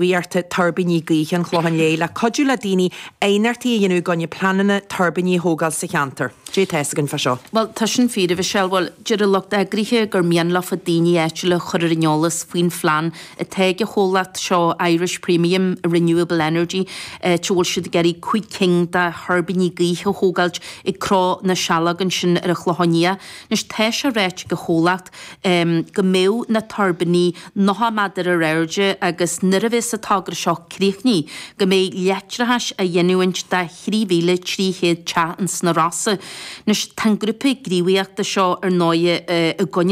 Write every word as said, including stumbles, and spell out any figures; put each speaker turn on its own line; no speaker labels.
Gníomhaíochta Tuirbíní Gaoithe an Chlocháin Léith le cuidiú le daoine aighneachtaí a dhéanamh i gcoinne pleananna tuirbíní a thógáil sa cheantar. Cad é atá fhios againn fá seo.
Bhuel, tá sin fíor, a Mhichelle. Bhuel, deir an lucht eagraithe gur mian leofa daoine áitiúla a chur ar an eolas faoin phlean atá ag an chomhlacht seo, Irish Premium Renewable Energy, áit a bhfuil siad ag iarraidh cúig cinn de thuirbíní gaoithe a thógáilt ag Cró na Saileog ansin ar an Chlochán Liath. Anois, tá sé ráite ag an chomhlacht go mbeadh na tuirbíní nócha méadar ar airde agus nuair a bheas an togra seo críochnaithe, go mbeidh leictreachas á ghiniúint do thrí mhíle trí chéad teach ins na Rosa. Anois, tá an grúpa gníomhaíochta seo ar ndóighe i gcoinne